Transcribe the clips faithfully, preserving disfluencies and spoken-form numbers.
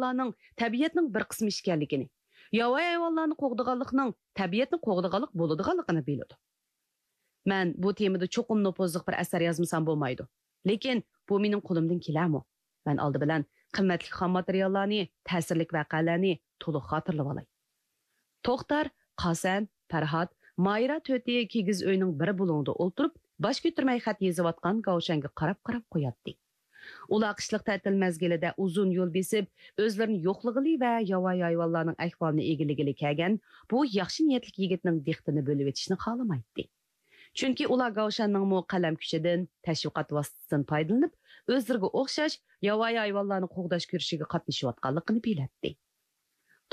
ھايۋانلارنىڭ تەبىئەتنىڭ بىر قىسمى ئىكەنلىكىنى، ياۋايى ھايۋانلارنى قوغدىغانلىقنىڭ تەبىئەتنى قوغدىغانلىق بولىدىغانلىقىنى بىلىدۇ. مەن بۇ تېمىدا چوقۇم نوپۇزلۇق بىر ئەسەر يازمىسام بولمايدۇ. لېكىن بۇ مېنىڭ قولۇمدىن كېلەرمۇ؟ مەن ئالدى بىلەن قىممەتلىك خام ماتېرىياللارنى، تەسىرلىك ۋەقەلەرنى تولۇق خاتىرىلىۋالاي. توختار، قاسەن، پەرھات، مايرا تۆتى كىگىز ئۆينىڭ بىر بۇلۇڭىدا ئولتۇرۇپ، باش كۆتۈرمەي خەت يېزىۋاتقان گاۋشەنگە قاراپ-قاراپ قوياتتى. ئۇلار قىشلىق تەتىل مەزگىلىدە ئۇزۇن يول بېسىپ، ئۆزلىرىنى يوقلىغىلى ۋە ياۋايى ھايۋانلارنىڭ ئەھۋالىنى ئىگىلىگىلى كەلگەن بۇ ياخشى نىيەتلىك يىگىتنىڭ دىققىتىنى بۆلۈۋېتىشنى خالىمايتتى. چۈنكى ئۇلار گاۋشەننىڭمۇ قەلەم كۈچىدىن، تەشۋىقات ۋاسىتىسىدىن پايدىلىنىپ، ئۆزلىرىگە ئوخشاش ياۋايى ھايۋانلارنى قوغداش كۈرىشىگە قاتنىشىۋاتقانلىقىنى بىلەتتى.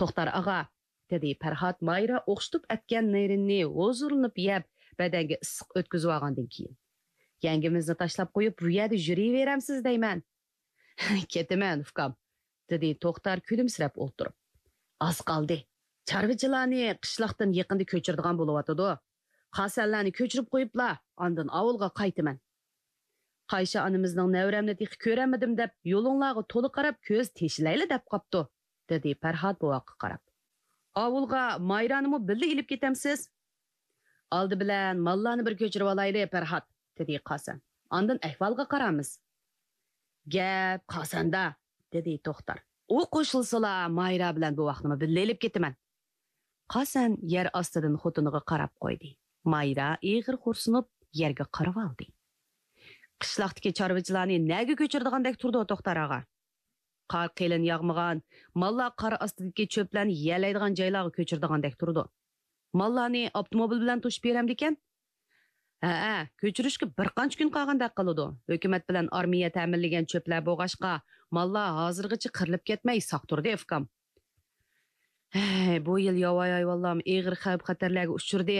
توختار ئاغا، دېدى پەرھات مايرا ئوخشىتىپ ئەتكەن نېرىننى ھۇزۇرلىنىپ يەپ، بەدەنگە ئىسسىق ئۆتكۈزۈۋالغاندىن كېيىن. يەڭگىمىزنى تاشلاپ قويۇپ، بۇ يەردە يۈرۈۋېرەمسىز دەيمەن. كېتىمەن، ئۇكام، دېدى توختار كۈلۈمسىرەپ ئولتۇرۇپ. ئاز قالدى. چارۋىچىلارنى قىشلاقتىن يېقىندا كۆچۈرىدىغان بولۇۋاتىدۇ. قاسەنلەرنى كۆچۈرۈپ قويۇپلا، ئاندىن ئاۋۇلغا قايتىمەن. قايشا ئانىمىزنىڭ نەۋرەمنى تېخى كۆرەلمىدىم دەپ، يولۇڭلارغا تولا قاراپ كۆز تېشىلايلا دەپ قاپتۇ، دېدى پەرھات بوۋاققا قاراپ. ئاۋۇلغا مايرانىمۇ بىللە ئېلىپ كېتەمسىز؟ ئالدى بىلەن ماللارنى بىر كۆچۈرۈۋالايلى، پەرھات، دېدى قاسەن. ئاندىن ئەھۋالغا قارارمىز. گەپ قاسەندە، دېدى توختار. ئۇ قوشۇلسىلا، مايرا بىلەن بوۋاقنىمۇ بىللە ئېلىپ كېتىمەن. قاسەن يەر ئاستىدىن خوتۇنىغا قاراپ قويدى. مايرا ئېغىر خورسىنىپ، يەرگە قارىۋالدى. قىشلاقتىكى چارۋىچىلارنى نەگە كۆچۈرىدىغاندەك تۇرىدۇ، توختار ئاغا؟ قار قېلىن ياغمىغان، ماللار قار ئاستىدىكى چۆپلەرنى يېيەلەيدىغان جايلارغا كۆچۈرىدىغاندەك تۇرىدۇ. ماللارنى ئاپتوموبىل بىلەن توشۇپ بېرەمدىكەن؟ ھەئە، كۆچۈرۈشكە بىر قانچە كۈن قالغاندەك قىلىدۇ. ھۆكۈمەت بىلەن ئارمىيە تەمىنلىگەن چۆپلەر بولغاچقا، ماللار ھازىرغىچە قىرىلىپ كەتمەي ساق تۇردى، ئۇكام. ھەي، بۇ يىل ياۋايى ھايۋانلارمۇ ئېغىر خەۋپ-خەتەرلەرگە ئۇچرىدى،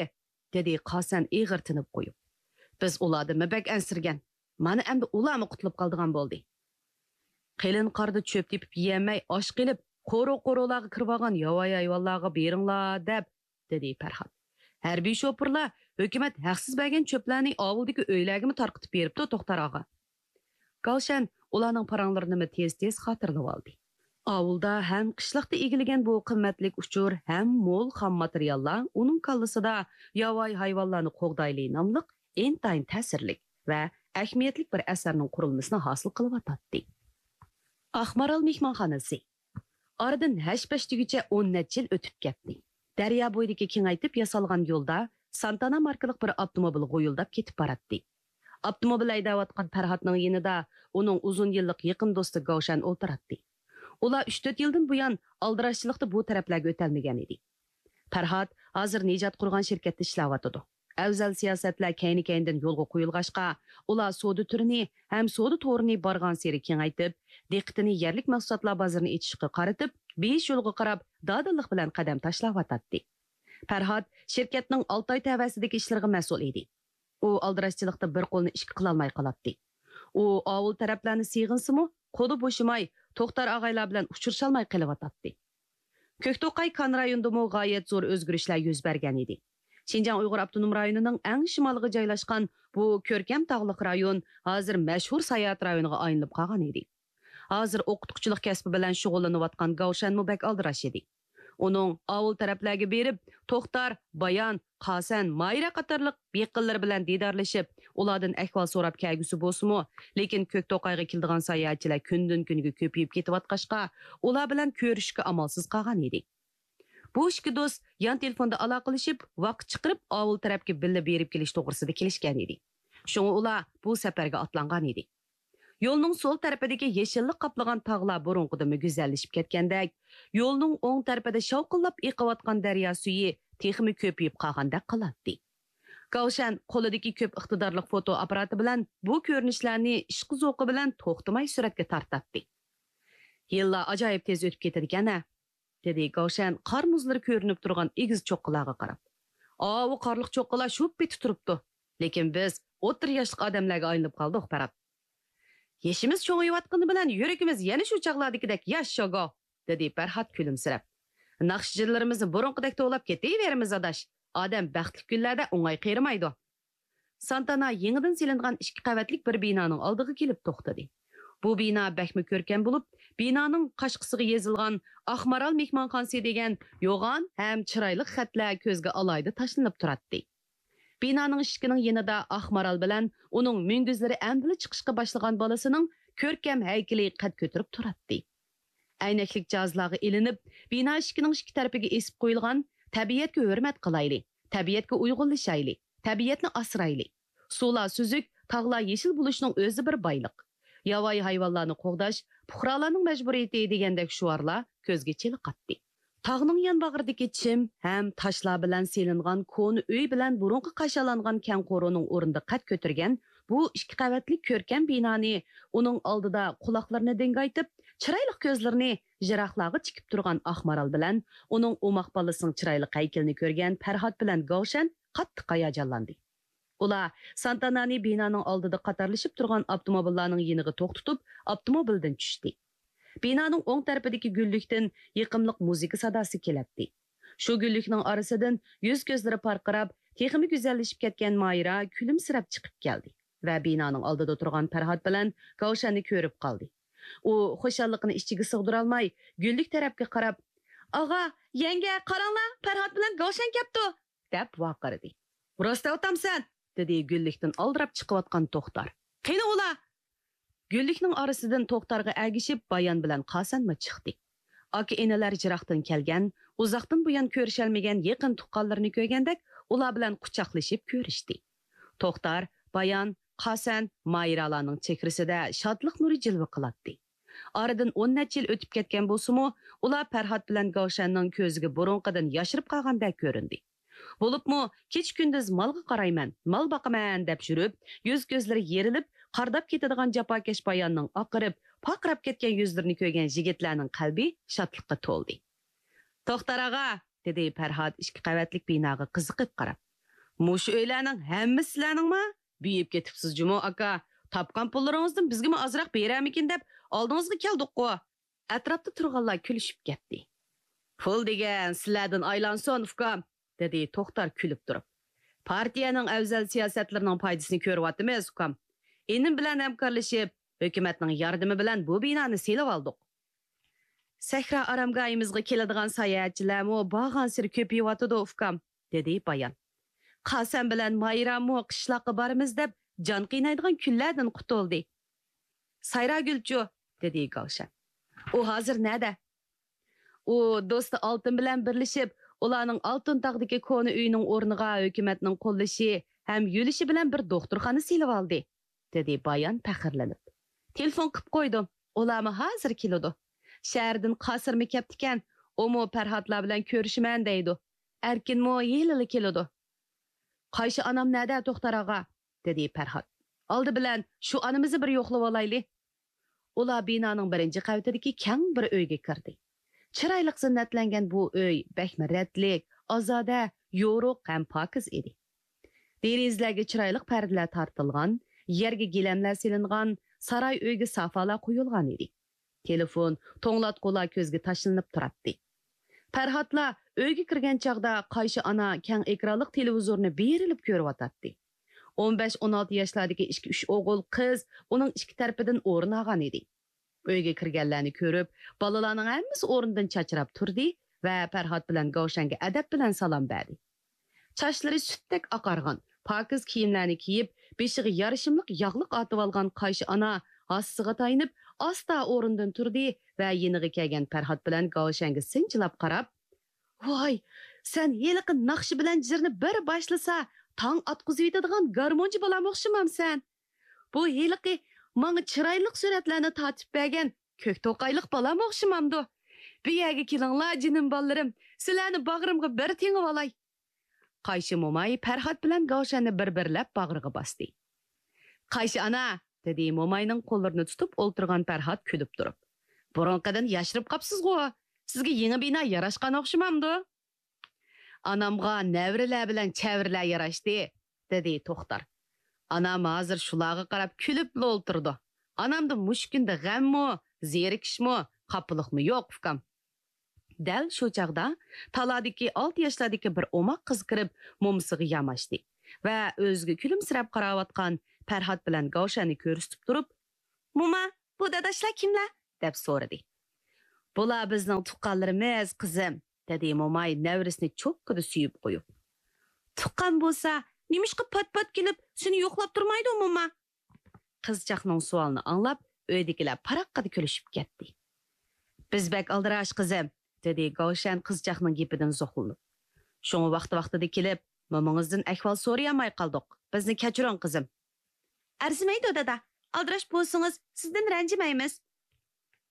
دېدى قاسەن ئېغىر تىنىپ قويۇپ. بىز ئۇلاردىنمۇ بەك ئەنسىرىگەن. مانا ئەمدى ئۇلارمۇ قۇتۇلۇپ قالىدىغان بولدى. قېلىن قاردا چۆپ تېپىپ يېيەلمەي ئاچ قېلىپ، قورۇ-قورۇلارغا كىرىۋالغان ياۋايى ھايۋانلارغا بېرىڭلار دەپ، دېدى پەرھات. ھەربىي شوپۇرلار ھۆكۈمەت ھەقسىز بەرگەن چۆپلەرنى ئاۋۇلدىكى ئۆيلەرگىمۇ تارقىتىپ بېرىپتۇ، توختار ئاغا. گاۋشەن ئۇلارنىڭ پاراڭلىرىنىمۇ تېز-تېز خاتىرىلىۋالدى. ئاۋۇلدا ھەم قىشلىقتا ئىگىلىگەن بۇ قىممەتلىك ئۇچۇر، ھەم مول خام ماتېرىياللار ئۇنىڭ كاللىسىدا ياۋايى ھايۋانلارنى قوغدايلى ناملىق ئىنتايىن تەسىرلىك ۋە ئەھمىيەتلىك بىر ئەسەرنىڭ قۇرۇلمىسىنى ھاسىل قىلىۋاتاتتى. ئاقمارال مېھمانخانىسى. ئارىدىن ھەش-پەش دېگۈچە ئون نەچچە يىل ئۆتۈپ كەتتى. دەريا بويىدىكى كېڭەيتىپ ياسالغان يولدا سانتانا ماركىلىق بىر ئاپتوموبىل غۇيۇلداپ كېتىپ باراتتى. ئاپتوموبىل ھەيدەۋاتقان پەرھاتنىڭ يېنىدا ئۇنىڭ ئۇزۇن يىللىق يېقىن دوستى گاۋشەن ئولتۇراتتى. ئۇلار ئۈچ-تۆت يىلدىن بۇيان ئالدىراشچىلىقتا بۇ تەرەپلەرگە ئۆتەلمىگەن ئىدى. پەرھات ھازىر نىجات قۇرغان شىركەتتە ئىشلەۋاتىدۇ. ئەۋزەل سىياسەتلەر كەينى-كەينىدىن يولغا قويۇلغاچقا، ئۇلار سودا تۈرىنى ھەم سودا تورىنى بارغانسېرى كېڭەيتىپ، دىققىتىنى يەرلىك مەھسۇلاتلار بازىرىنى ئېچىشقا قارىتىپ، بېيىش يولىغا قاراپ دادىللىق بىلەن قەدەم تاشلاۋاتاتتى. پەرھات شىركەتنىڭ ئالتە ئاي تەۋەسىدىكى ئىشلىرىغا مەسئۇل ئىدى. ئۇ ئالدىراشچىلىقتا بىر قولنى ئىككى قىلالماي قالاتتى. ئۇ ئاۋۇل تەرەپلەرنى سېغىنسىمۇ، قولى بوشىماي، توختار ئاغايلار بىلەن ئۇچرىشالماي قېلىۋاتاتتى. كۆكتوقاي كان رايونىدىمۇ غايەت زور ئۆزگىرىشلەر يۈز بەرگەن ئىدى. شىنجاڭ ئۇيغۇر ئاپتونوم رايونىنىڭ ئەڭ شىمالىغا جايلاشقان بۇ كۆركەم تاغلىق رايون ھازىر مەشھۇر ساياھەت رايونىغا ئايلىنىپ قالغان ئىدى. ھازىر ئوقۇتقۇچىلىق كەسپى بىلەن شۇغۇللىنىۋاتقان گاۋشەنمۇ بەك ئالدىراش ئىدى. ئۇنىڭ ئاۋۇل تەرەپلەرگە بېرىپ، توختار، بايان، قاسەن، مايرا قاتارلىق يېقىنلىرى بىلەن دىدارلىشىپ، ئۇلاردىن ئەھۋال سوراپ كەلگۈسى بولسىمۇ، لېكىن كۆكتوقايغا كېلىدىغان ساياھەتچىلەر كۈندىن-كۈنگە كۆپىيىپ كېتىۋاتقاچقا، ئۇلار بىلەن كۆرۈشۈشكە ئامالسىز قالغان ئىدى. بۇ ئىككى دوست يان تېلېفوندا ئالاقىلىشىپ، ۋاقىت چىقىرىپ، ئاۋۇل تەرەپكە بىللە بېرىپ كېلىش توغرىسىدا كېلىشكەن ئىدى. شۇڭا ئۇلار بۇ سەپەرگە ئاتلانغان ئىدى. يولنىڭ سول تەرىپىدىكى يېشىللىق قاپلىغان تاغلار بۇرۇنقىدىنمۇ گۈزەللىشىپ كەتكەندەك، يولنىڭ ئوڭ تەرىپىدە شاۋقۇنلاپ ئېقىۋاتقان دەريا سۈيى تېخىمۇ كۆپىيىپ قالغاندەك قىلاتتى. گاۋشەن قولىدىكى كۆپ ئىقتىدارلىق فوتو ئاپپاراتى بىلەن بۇ كۆرۈنۈشلەرنى ئىشقا-زوقى بىلەن توختىماي سۈرەتكە تارتاتتى. يىللار ئاجايىپ تېز ئۆتۈپ كېتىدىكەن-ھە، دېدى گاۋشەن قار مۇزلىرى كۆرۈنۈپ تۇرغان ئېگىز چوققىلارغا قاراپ. ئاۋۇ قارلىق چوققىلار شۇ پېتى تۇرۇپتۇ. لېكىن بىز ئوتتۇرا ياشلىق ئادەملەرگە ئايلىنىپ قالدۇق، پەرھات. يېشىمىز چوڭىيىۋاتقىنى بىلەن يۈرىكىمىز يەنە شۇ چاغلاردىكىدەك ياش، شاگو، دېدى پەرھات كۈلۈمسىرەپ. ناخشىچىلىرىمىزنى بۇرۇنقىدەك توۋلاپ كېتىۋېرىمىز، ئاداش. ئادەم بەختلىك كۈنلەردە ئوڭاي قېرىمايدۇ. سانتانا يېڭىدىن سېلىنغان ئىككى قەۋەتلىك بىر بىنانىڭ ئالدىغا كېلىپ توختىدى. بۇ بىنا بەكمۇ كۆركەم بولۇپ، بىنانىڭ قاشقىسىغا يېزىلغان «ئاقمارال مېھمانخانىسى» دېگەن يوغان ھەم چىرايلىق خەتلەر كۆزگە ئالاھىدە تاشلىنىپ تۇراتتى. بىنانىڭ ئىشىكىنىڭ يېنىدا ئاقمارال بىلەن ئۇنىڭ مۈڭگۈزلىرى ئەمدىلا چىقىشقا باشلىغان بالىسىنىڭ كۆركەم ھەيكىلى قەد كۆتۈرۈپ تۇراتتى. ئەينەكلىك جاھازلارغا ئېلىنىپ، بىنا ئىشىكىنىڭ ئىككى تەرىپىگە ئېسىپ قويۇلغان «تەبىئەتكە ھۆرمەت قىلايلى، تەبىئەتكە ئۇيغۇنلىشايلى، تەبىئەتنى ئاسرايلى، سۇلار سۈزۈك، تاغلار يېشىل بولۇشنىڭ ئۆزى بىر بايلىق، ياۋايى ھايۋانلارنى قوغداش پۇقرالارنىڭ مەجبۇرىيىتى» دېگەندەك شوئارلار كۆزگە چېلىقاتتى. تاغنىڭ يانباغرىدىكى چىم ھەم تاشلار بىلەن سېلىنغان كونا ئۆي بىلەن بۇرۇنقى قاشالانغان كەڭ قورۇنىڭ ئورنىدا قەد كۆتۈرگەن بۇ ئىككى قەۋەتلىك كۆركەم بىنانى ئۇنىڭ ئالدىدا قۇلاقلىرىنى دىڭگايتىپ، چىرايلىق كۆزلىرىنى يىراقلارغا تىكىپ تۇرغان ئاقمارال بىلەن ئۇنىڭ ئوماق بالىسىنىڭ چىرايلىق ھەيكىلىنى كۆرگەن پەرھات بىلەن گاۋشەن قاتتىق ھاياجانلاندى. ئۇلار سانتانانى بىنانىڭ ئالدىدا قاتارلىشىپ تۇرغان ئاپتوموبىللارنىڭ يېنىغا توختىتىپ، ئاپتوموبىلدىن چۈشتى. بىنانىڭ ئوڭ تەرىپىدىكى گۈللۈكتىن يېقىملىق مۇزىكا ساداسى كېلەتتى. شۇ گۈللۈكنىڭ ئارىسىدىن يۈز-كۆزلىرى پارقىراپ، تېخىمۇ گۈزەللىشىپ كەتكەن مايرا كۈلۈمسىرەپ چىقىپ كەلدى ۋە بىنانىڭ ئالدىدا تۇرغان پەرھات بىلەن گاۋشەننى كۆرۈپ قالدى. ئۇ خۇشاللىقىنى ئىچىگە سىغدۇرالماي، گۈللۈك تەرەپكە قاراپ، «ئاغا، يەڭگە، قاراڭلار، پەرھات بىلەن گاۋشەن كەپتۇ!» دەپ ۋارقىرىدى. «راست دەۋاتامسەن؟» دېدى گۈللۈكتىن ئالدىراپ چىقىۋاتقان توختار. «قېنى ئۇلار؟» گۈللۈكنىڭ ئارىسىدىن توختارغا ئەگىشىپ بايان بىلەن قاسەنمۇ چىقتى. ئاكا-ئىنىلەر يىراقتىن كەلگەن، ئۇزاقتىن بۇيان كۆرۈشەلمىگەن يېقىن تۇغقانلىرىنى كۆرگەندەك ئۇلار بىلەن قۇچاقلىشىپ كۆرۈشتى. توختار، بايان، قاسەن، مايرالارنىڭ چېھرىسىدە شادلىق نۇرى جىلۋە قىلاتتى. ئارىدىن ئون نەچچە يىل ئۆتۈپ كەتكەن بولسىمۇ، ئۇلار پەرھات بىلەن گاۋشەننىڭ كۆزىگە بۇرۇنقىدىن ياشىرىپ قالغاندەك كۆرۈندى. بولۇپمۇ كېچە-كۈندۈز «مالغا قارايمەن، مال باقىمەن» دەپ يۈرۈپ، يۈز-كۆزلىرى يېرىلىپ، قارداپ كېتىدىغان جاپاكەش باياننىڭ ئاقىرىپ، پارقىراپ كەتكەن يۈزلىرىنى كۆرگەن يىگىتلەرنىڭ قەلبى شادلىققا تولدى. «توختار ئاغا!» دېدى پەرھات ئىككى قەۋەتلىك بىناغا قىزىقىپ قاراپ. «مۇشۇ ئۆيلەرنىڭ ھەممىسى سىلەرنىڭمۇ؟ بېيىپ كېتىپسىز جۇمۇ، ئاكا. تاپقان پۇللىرىڭىزدىن بىزگىمۇ ئازراق بېرەرمىكىن دەپ ئالدىڭىزغا كەلدۇققۇ.» ئەتراپتا تۇرغانلار كۈلۈشۈپ كەتتى. «پۇل دېگەن سىلەردىن ئايلانسۇن، ئۇكام!» دېدى توختار كۈلۈپ تۇرۇپ. «پارتىيەنىڭ ئەۋزەل سىياسەتلىرىنىڭ پايدىسىنى كۆرۈۋاتىمىز، ئۇكام. ئىنىم بىلەن ھەمكارلىشىپ، ھۆكۈمەتنىڭ ياردىمى بىلەن بۇ بىنانى سېلىۋالدۇق.» «سەھرا ئارامگاھىمىزغا كېلىدىغان ساياھەتچىلەرمۇ بارغانسېرى كۆپىيىۋاتىدۇ، ئۇكام.» دېدى بايان. «قاسەن بىلەن مايرامۇ قىشلاققا بارىمىز دەپ جان قىينايدىغان كۈنلەردىن قۇتۇلدى.» «سايراگۈلچۇ؟» دېدى گاۋشەن. «ئۇ ھازىر نەدە؟» «ئۇ دوستى ئالتۇن بىلەن بىرلىشىپ، ئۇلارنىڭ ئالتۇن تاغدىكى كونا ئۆيىنىڭ ئورنىغا ھۆكۈمەتنىڭ قوللىشى ھەم يۆلىشى بىلەن بىر دوختۇرخانا سېلىۋالدى.» دېدى بايان پەخىرلىنىپ. «تېلېفون قىپ قويدۇم، ئۇلارمۇ ھازىر كېلىدۇ. شەھەردىن قاسىرمۇ كەپتىكەن، ئۇمۇ پەرھاتلار بىلەن كۆرۈشىمەن دەيدۇ. ئەركىنمۇ ھېلىلا كېلىدۇ.» «قايشى ئانام نەدە، توختار ئاغا؟» دېدى پەرھات. «ئالدى بىلەن شۇ ئانىمىزنى بىر يوقلىۋالايلى.» ئۇلار بىنانىڭ بىرىنچى قەۋىتىدىكى كەڭ بىر ئۆيگە كىردى. چىرايلىق زىننەتلەنگەن بۇ ئۆي بەكمۇ رەتلىك، ئازادە، يورۇق ھەم پاكىز ئىدى. دېرىزىلەرگە چىرايلىق پەردىلەر تارتىلغان، يەرگە گىلەملەر سېلىنغان، ساراي ئۆيگە سافالار قويۇلغان ئىدى. تېلېفون، توڭلاتقۇلار كۆزگە تاشلىنىپ تۇراتتى. پەرھاتلا ئۆيگە كىرگەن چاغدا قايشى ئانا كەڭ ئېكرانلىق تېلېۋىزورنى بېرىلىپ كۆرۈۋاتاتتى. ئون بەش، ئون ئالتە ياشلاردىكى ئىككى، ئۈچ ئوغۇل، قىز ئۇنىڭ ئىككى تەرىپىدىن ئورۇن ئالغان ئىدى. ئۆيگە كىرگەنلەرنى كۆرۈپ، بالىلارنىڭ ھەممىسى ئورنىدىن چاچراپ تۇردى ۋە پەرھات بىلەن گاۋشەنگە ئەدەپ بىلەن سالام بەردى. چاچلىرى سۈتتەك ئاقارغان، پاكىز كىيىملەرنى كىيىپ، بېشىغا يارىشىملىق ياغلىق ئارتىۋالغان قايشى ئانا ھاسىسىغا تايىنىپ، ئاستا ئورنىدىن تۇردى ۋە يېنىغا كەلگەن پەرھات بىلەن گاۋشەنگە سىنچىلاپ قاراپ، «ۋاي، سەن ھېلىقى ناخشا بىلەن جىرنى بىر باشلىسا، تاڭ ئاتقۇزۇۋېتىدىغان گارمونچى بالام ئوخشىمامسەن؟ بۇ ھېلىقى ماڭا چىرايلىق سۈرەتلەرنى تارتىپ بەرگەن كۆك توقايلىق بالام ئوخشىمامدۇ؟ بۇ يەرگە كېلىڭلار، جېنىم بالىلىرىم، سىلەرنى باغرىمغا بىر تېڭىۋالاي.» قايشى موماي پەرھات بىلەن گاۋشەننى بىر-بىرلەپ باغرىغا باستى. «قايشى ئانا!» دېدى موماينىڭ قوللىرىنى تۇتۇپ ئولتۇرغان پەرھات كۈلۈپ تۇرۇپ. «بۇرۇنقىدىن ياشىرىپ قاپسىزغۇ؟ سىزگە يېڭى بىنا ياراشقان ئوخشىمامدۇ؟» «ئانامغا نەۋرىلەر بىلەن چەۋرىلەر ياراشتى.» دېدى توختار. «ئانام ھازىر شۇلارغا قاراپ كۈلۈپلا ئولتۇرىدۇ. ئانامدا مۇشۇ كۈندە غەممۇ، زېرىكىشمۇ، خاپىلىقمۇ يوق، ئۇكام.» دەل شۇ چاغدا تالادىكى ئالتە ياشلاردىكى بىر ئوماق قىز كىرىپ، مومىسىغا ياماشتى ۋە ئۆزىگە كۈلۈمسىرەپ قاراۋاتقان پەرھات بىلەن گاۋشەننى كۆرسىتىپ تۇرۇپ، «موما، بۇ داداشلار كىملەر؟ دەپ سورىدى. بۇلار بىزنىڭ تۇغقانلىرىمىز، قىزىم، دېدى موماي نەۋرىسىنى چوككىدا سۆيۈپ قويۇپ. تۇغقان بولسا، نېمىشقا پات-پات كېلىپ سېنى يوقلاپ تۇرمايدۇ، موما؟ قىزچاقنىڭ سوئالىنى ئاڭلاپ، ئۆيدىكىلەر پاراققىدە كۈلۈشۈپ كەتتى. بىز بەك ئالدىراش، قىزىم، دېدى گاۋشەن قىزچاقنىڭ گېپىدىن زوقلىنىپ. شۇڭا ۋاقتى-ۋاقتىدا كېلىپ، مومىڭىزدىن ئەھۋال سورىيالماي قالدۇق. بىزنى كەچۈرۈڭ، قىزىم. ئەرزىمەيدۇ، دادا. ئالدىراش بولسىڭىز، سىزدىن رەنجىمەيمىز.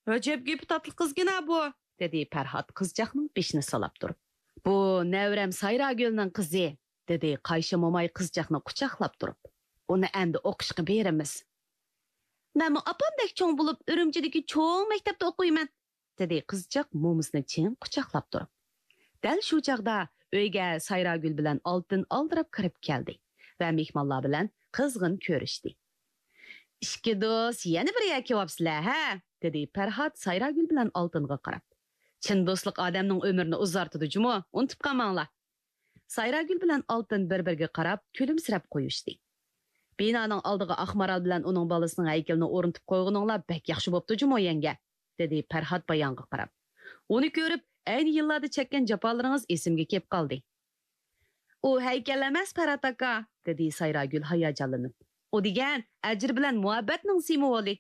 ئەجەب گېپى تاتلىق قىزغىنا بۇ، دېدى پەرھات قىزچاقنىڭ بېشىنى سىلاپ تۇرۇپ. بۇ نەۋرەم سايراگۈلنىڭ قىزى، دېدى قايشى موماي قىزچاقنى قۇچاقلاپ تۇرۇپ. ئۇنى ئەمدى ئوقۇشقا بېرىمىز. مەنمۇ ئاپامدەك چوڭ بولۇپ، ئۈرۈمچىدىكى چوڭ مەكتەپتە ئوقۇيمەن، دېدى قىزچاق مومىسىنى چىڭ قۇچاقلاپ تۇرۇپ. دەل شۇ چاغدا ئۆيگە سايراگۈل بىلەن ئالتۇن ئالدىراپ كىرىپ كەلدى ۋە مېھمانلار بىلەن قىزغىن كۆرۈشتى. ئىككى دوست يەنە بىر يەرگە كېلىۋاپسىلەر، ھە؟ دېدى پەرھات سايراگۈل بىلەن ئالتۇنغا قاراپ. چىن دوستلۇق ئادەمنىڭ ئۆمرىنى ئۇزارتىدۇ جۇمۇ، ئۇنتۇپ قالماڭلار. سايراگۈل بىلەن ئالتۇن بىر-بىرىگە قاراپ كۈلۈمسىرەپ قويۇشتى. بىنانىڭ ئالدىغا ئاقمارال بىلەن ئۇنىڭ بالىسىنىڭ ھەيكىلىنى ئورنىتىپ قويغىنىڭلار بەك ياخشى بوپتۇ جۇمۇ، يەڭگە، دېدى پەرھات بايانغا قاراپ. ئۇنى كۆرۈپ، ئەينى يىللاردا چەككەن جاپالىرىڭىز ئېسىمگە كېلىپ قالدى. ئۇ ھەيكەل ئەمەس، پەرھات ئاكا، دېدى سايراگۈل ھاياجانلىنىپ. ئۇ دېگەن ئەجىر بىلەن مۇھەببەتنىڭ سىمۋولى.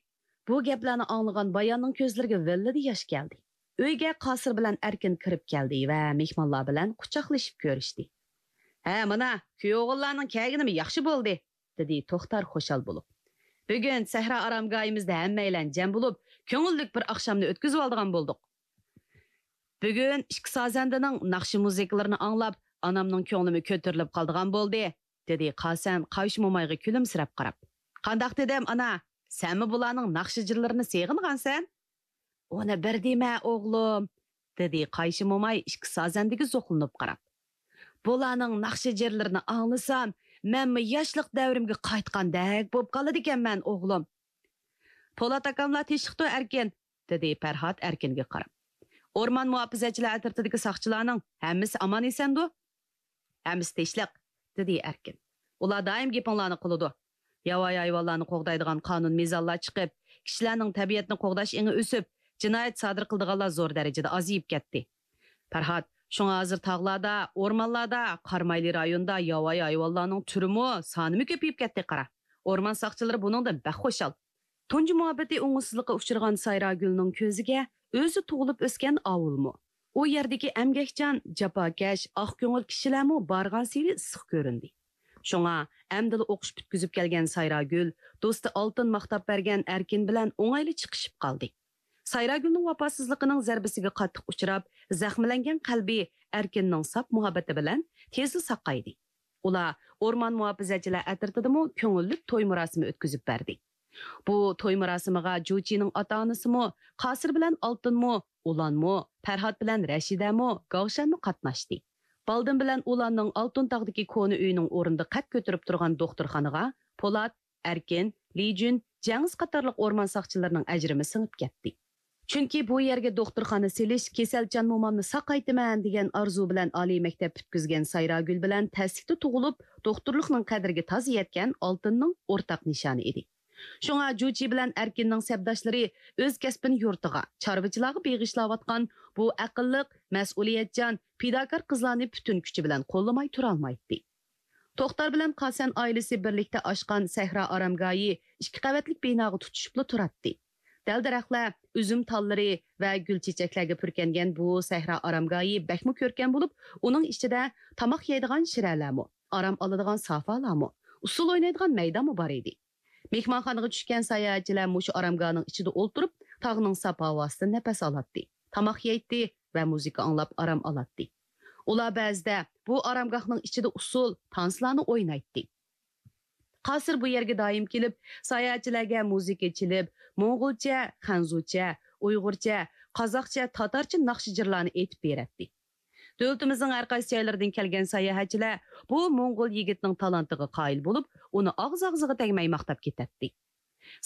بۇ گەپلەرنى ئاڭلىغان باياننىڭ كۆزلىرىگە ۋىللىدە ياش كەلدى. ئۆيگە قاسىر بىلەن ئەركىن كىرىپ كەلدى ۋە مېھمانلار بىلەن قۇچاقلىشىپ كۆرۈشتى. ھە، مانا، كۈيئوغۇللارنىڭ كەلگىنىمۇ ياخشى بولدى، دېدى توختار خۇشال بولۇپ. بۈگۈن سەھرا ئارامگاھىمىزدا ھەممەيلەن جەم بولۇپ، كۆڭۈللۈك بىر ئاخشامنى ئۆتكۈزۈۋالىدىغان بولدۇق. بۈگۈن ئىككى سازەندىنىڭ ناخشا مۇزىكىلىرىنى ئاڭلاپ، ئانامنىڭ كۆڭلىمۇ كۆتۈرۈلۈپ قالىدىغان بولدى، دېدى قاسەن قايشى مومايغا كۈلۈمسىرەپ قاراپ. قانداق دېدىم، ئانا؟ سەنمۇ بۇلارنىڭ ناخشا جىرلىرىنى سېغىنغانسەن؟ ئۇنى بىر دېمە، ئوغلۇم، دېدى قايشى موماي ئىككى سازەندىگە زوقلىنىپ قاراپ. بۇلارنىڭ ناخشا جىرلىرىنى ئاڭلىسام، مەنمۇ ياشلىق دەۋرىمگە قايتقاندەك بولۇپ قالىدىكەنمەن، ئوغلۇم. پولات ئاكاملار تىنچلىقتۇ، ئەركىن، دېدى پەرھات ئەركىنگە قاراپ. ئورمان مۇھاپىزەتچىلەر ئەترىتىدىكى ساقچىلارنىڭ ھەممىسى ئامان ئېسەندۇ؟ ھەممىسى تىنچلىق، دېدى ئەركىن. ئۇلار دائىم گېپىڭلارنى قىلىدۇ. ياۋايى ھايۋانلارنى قوغدايدىغان قانۇن مىزانلار چىقىپ، كىشىلەرنىڭ تەبىئەتنى قوغداش ئېڭى ئۆسۈپ، جىنايەت سادىر قىلىدىغانلار زور دەرىجىدە ئازىيىپ كەتتى. پەرھات، شۇڭا ھازىر تاغلاردا، ئورمانلاردا، قارامايلى رايونىدا ياۋايى ھايۋانلارنىڭ تۈرىمۇ، سانىمۇ كۆپىيىپ كەتتى قارا. ئورمان ساقچىلىرى بۇنىڭدىن بەك خۇشال. تۇنجى مۇھەببىتى ئوڭۇشسىزلىققا ئۇچرىغان سايراگۈلنىڭ كۆزىگە ئۆزى تۇغۇلۇپ ئۆسكەن ئاۋۇلمۇ، ئۇ يەردىكى ئەمگەكچان، جاپاكەش، ئاق كۆڭۈل كىشىلەرمۇ بارغانسېرى ئىسسىق كۆرۈندى. شۇڭا ئەمدىلا ئوقۇش پۈتكۈزۈپ كەلگەن سايراگۈل دوستى ئالتۇن ماختاپ بەرگەن ئەركىن بىلەن ئوڭايلا چىقىشىپ قالدى. سايراگۈلنىڭ ۋاپاسىزلىقىنىڭ زەربىسىگە قاتتىق ئۇچراپ، زەخىملەنگەن قەلبى ئەركىننىڭ ساپ مۇھەببىتى بىلەن تېزلا ساقايدى. ئۇلار ئورمان مۇھاپىزەتچىلەر ئەترىتىدىمۇ كۆڭۈللۈك توي مۇراسىمى ئۆتكۈزۈپ بەردى. بۇ توي مۇراسىمىغا جۇچىنىڭ ئاتا-ئانىسىمۇ، قاسىر بىلەن ئالتۇنمۇ، ئۇلانمۇ، پەرھات بىلەن رەشىدەمۇ، گاۋشەنمۇ قاتناشتى. بالدىن بىلەن ئۇلاننىڭ ئالتۇن تاغدىكى كونا ئۆيىنىڭ ئورنىدا قەد كۆتۈرۈپ تۇرغان دوختۇرخانىغا پولات، ئەركىن، لىجۈن، جەڭىز قاتارلىق ئورمان ساقچىلىرىنىڭ ئەجرىمۇ سىڭىپ كەتتى. چۈنكى بۇ يەرگە دوختۇرخانا سېلىش، كېسەلچان مومامنى ساقايتىمەن دېگەن ئارزۇ بىلەن ئالىي مەكتەپ پۈتكۈزگەن سايراگۈل بىلەن تەسلىكتە تۇغۇلۇپ، دوختۇرلۇقنىڭ قەدرىگە تازا يەتكەن ئالتۇننىڭ ئورتاق نىشانى ئىدى. شۇڭا جۇچى بىلەن ئەركىننىڭ سەپداشلىرى ئۆز كەسپىنى يۇرتىغا، چارۋىچىلارغا بېغىشلاۋاتقان بۇ ئەقىللىق، مەسئۇلىيەتچان، پىداكار قىزلارنى پۈتۈن كۈچى بىلەن قوللىماي تۇرالمايتتى. توختار بىلەن قاسەن ئائىلىسى بىرلىكتە ئاچقان سەھرا ئارامگاھى ئىككى قەۋەتلىك بىناغا تۇتىشىپلا تۇراتتى. دەل-دەرەخلەر، ئۈزۈم تاللىرى ۋە گۈل-چېچەكلەرگە پۈركەنگەن بۇ سەھرا ئارامگاھى بەكمۇ كۆركەم بولۇپ، ئۇنىڭ ئىچىدە تاماق يەيدىغان شىرەلەرمۇ، ئارام ئالىدىغان سافالارمۇ، ئۇسسۇل ئوينايدىغان مەيدانمۇ بار ئىدى. مېھمانخانىغا چۈشكەن ساياھەتچىلەر مۇشۇ ئارامگاھنىڭ ئىچىدە ئولتۇرۇپ، تاغنىڭ ساپ ھاۋاسىدىن نەپەس ئالاتتى، تاماق يەيتتى ۋە مۇزىكا ئاڭلاپ ئارام ئالاتتى. ئۇلار بەزىدە بۇ ئارامگاھنىڭ ئىچىدە ئۇسسۇل، تانسىلارنى ئوينايتتى. قاسىر بۇ يەرگە دائىم كېلىپ، ساياھەتچىلەرگە مۇزىكا چېلىپ، موڭغۇلچە، خەنزۇچە، ئۇيغۇرچە، قازاقچە، تاتارچە ناخشا-جىرلارنى ئېيتىپ بېرەتتى. دۆلىتىمىزنىڭ ھەر قايسى جايلىرىدىن كەلگەن ساياھەتچىلەر بۇ موڭغۇل يىگىتنىڭ تالانتىغا قايىل بولۇپ، ئۇنى ئاغزى-ئاغزىغا تەگمەي ماختاپ كېتەتتى.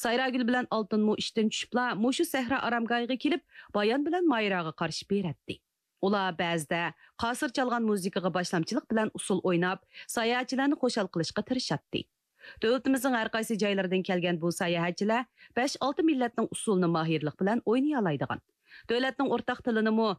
سايراگۈل بىلەن ئالتۇنمۇ ئىشتىن چۈشۈپلا مۇشۇ سەھرا ئارامگاھىغا كېلىپ، بايان بىلەن مايراغا قارىشىپ بېرەتتى. ئۇلار بەزىدە قاسىر چالغان مۇزىكىغا باشلامچىلىق بىلەن ئۇسسۇل ئويناپ، ساياھەتچىلەرنى خۇشال قىلىشقا تىرىشاتتى. دۆلىتىمىزنىڭ ھەر قايسى جايلىرىدىن كەلگەن بۇ ساياھەتچىلەر بەش-ئالتە مىللەتنىڭ ئۇسسۇلىنى ماھىرلىق بىلەن ئوينىيالايدىغان، دۆلەتنىڭ ئورتاق تىلىنىمۇ